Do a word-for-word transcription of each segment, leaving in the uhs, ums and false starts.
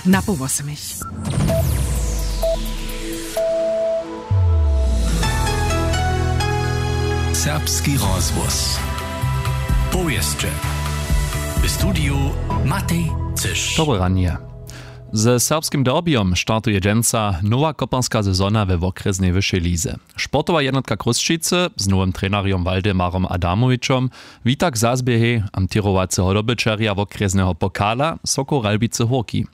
Na poł wosomich. Serbski rozhłos. Powěsće. W studiju Matej Cyš. Dobre ranje. Ze serbskim derbyjom startuje dźensa nowa koparska sezona we wokrjesnej wyšej lize. Sportowa jednotka Chrósćicy z nowym trenerjom Waldemarom Adamowićom wita k zazběhej amtěrowaceho dobyćerja wokrjesneho pokala Sokol Ralbicy Hórki.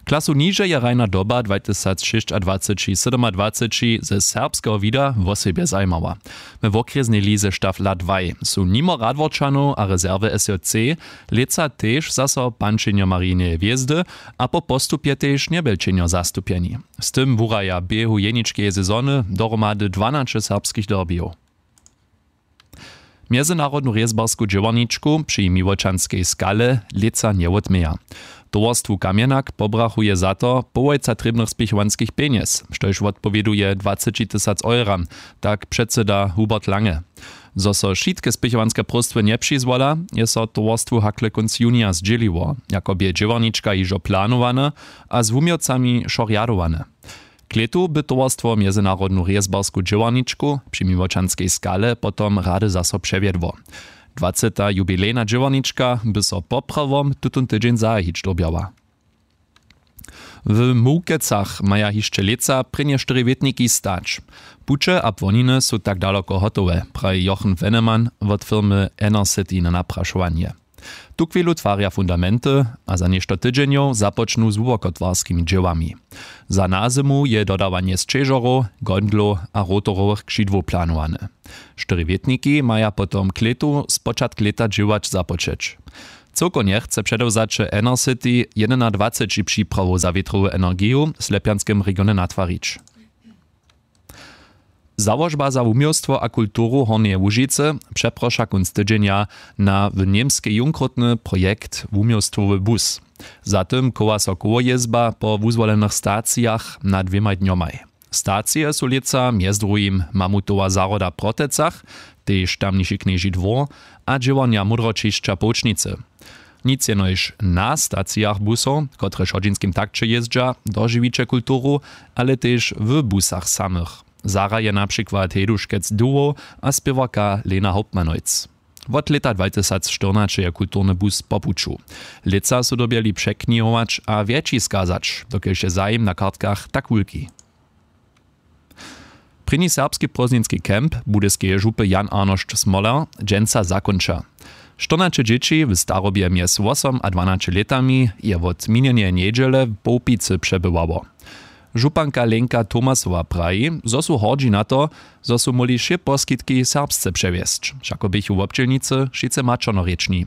Klasu niže je hrajna doba dwatysacšěsćadwaceći sydomadwaceći ze serbskeho wida wosebje zajimała. We wokrjesnej lize Staffla dwaj su nimo Radworčanow a rezerwy S J C lětsa tež zaso pančenjo Marineje hwězdy a po postupje tež Njebjelčenjo zastupjeni. Z tym wuraja běhu jeničkeje sezony dohromady dwanaće serbskich derbyjow. Mjezynarodnu rězbarsku dźěłarničku při Miłočanskej skale lětsa njewotměja. Towarstwu Kamjenak pobrachuje za to połojca trěbnych spěchowanskich pjenjez, štož wotpowěduje dwaceći tysac eura, tak předsyda Hubert Lange. Zo so wšitke spěchowanske próstwy njepřizwola, je so towarstwu hakle kónc junija zdźěliło, jako bě dźěłarnička hižo planowane a z wuměłcami wšo rjadowane. K lětu by towarstwo mjezynarodnu rězbarsku dźěłarničku při Miłočanskej skale potom rady zaso přewjedło. Dwaceta jubilejna dźěłarnička by so poprawom tutón tydźeń zahajić dyrbjała. W Mułkecach maja hišće lětsa prěnje štyri wětniki stać. Puće a płoniny su tak daloko hotowe, praji Jochen Wennemann wot firmy Enercity na naprašowanje. Tuchwilu twarja fundamenty a za něšto tydźenjow započnu z hłubokotwarskimi dźěłami. Za nazymu je dodawanje sćežorow, gondlow a rotorowych křidłow planowane. Štyri wětniki maja potom k lětu spočatk lěta dźěłać započeć. Cyłkownje chce předewzaće Enercity jedynadwaceći připrawow za wětrowu energiju w Slepjanskem regionje natwarić. Załožba za wuměłstwo a kulturu Hornjeje Łužicy přeproša kónc tydźenja na w Němskej junkrótny projekt Wuměłstwowy bus. Za tym chowa so kołojězba po wuzwolenych stacijach na dwěmaj dnjomaj. Stacije su lětsa mjez druhim Mamutowa zahroda w Protecach, tež tamniši Knježi dwór a dźěłarnja Módroćišća Połčnicy. Nic jenož na stacijach busow, kotrež w hodźinskim takće jězdźa, dožiwiće kulturu, ale tež w busach samych. Zahra je na přikład Hejduškec Duwow a spěwarka Lena Hauptmann-Neuss. Wot lěta dwatysacštyrnaće je kulturny bus po puću. Lětsa su dyrbjeli překnihować a wjetši skazać, dokelž je zajim na kartkach tak wulki. Prěni serbski prózdninski camp budyskeje župy Jan Arnošt Smoler dźensa zakónča. Štyrnaće dźěći w starobje mjez wosom a dwanaće lětami je wot minjeneje njedźele w Połpicy přebywało. Županka Lenka Tomasowa praji, zo su hordźi na to, zo su móhli wšě poskitki serbsce přewjesć, wšako běchu wobdźělnicy wšitcy maćernorěčni.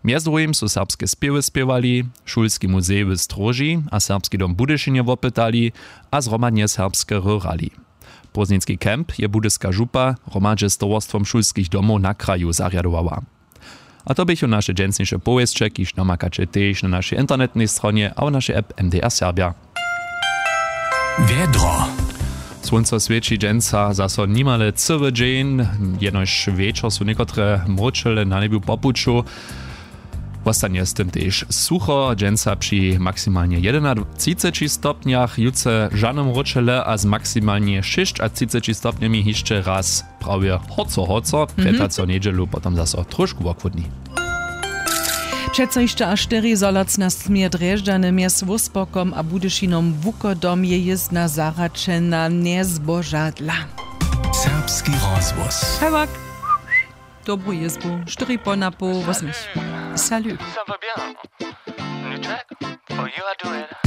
Mjez druhim su serbske spěwy spěwali, šulski muzej w Stróži a Serbski dom w Budyšinje wopytali a zhromadnje serbske hrali. Prózdninski camp je budyska župa hromadźe z towarstwom šulskich domow na kraju zarjadowała. A to běchu naše dźensniše powěsće, kiž namakaće tež na našej internetnej stronje a w našej app M D R Serbja. Wjedro. Słónco swěći dźensa zaso nimale cyły dźeń, jenož wječor su někotre mróčele na njebju po puću. Wostanje z tym tež sucho, dźensa při maksimalnje jedynatřiceći stopnjach, jutře žane mróčele a z maksimalnje šěsćatřiceći stopnjemi hišće raz prawje horco horco, prjetaco njedźelu potom zaso trošku wochłódni. Přeco hišće až štyri zolotna směr Drježdźany mjez Wóspokom a Budyšinom wuchodom je jězdna zahraćena njezbožadla. Serbski rozhłos. Hewak. Dobru jězbu, štyri po na poł wosmich. Salut. Ça va bien. Nuček? Oh, you are doing.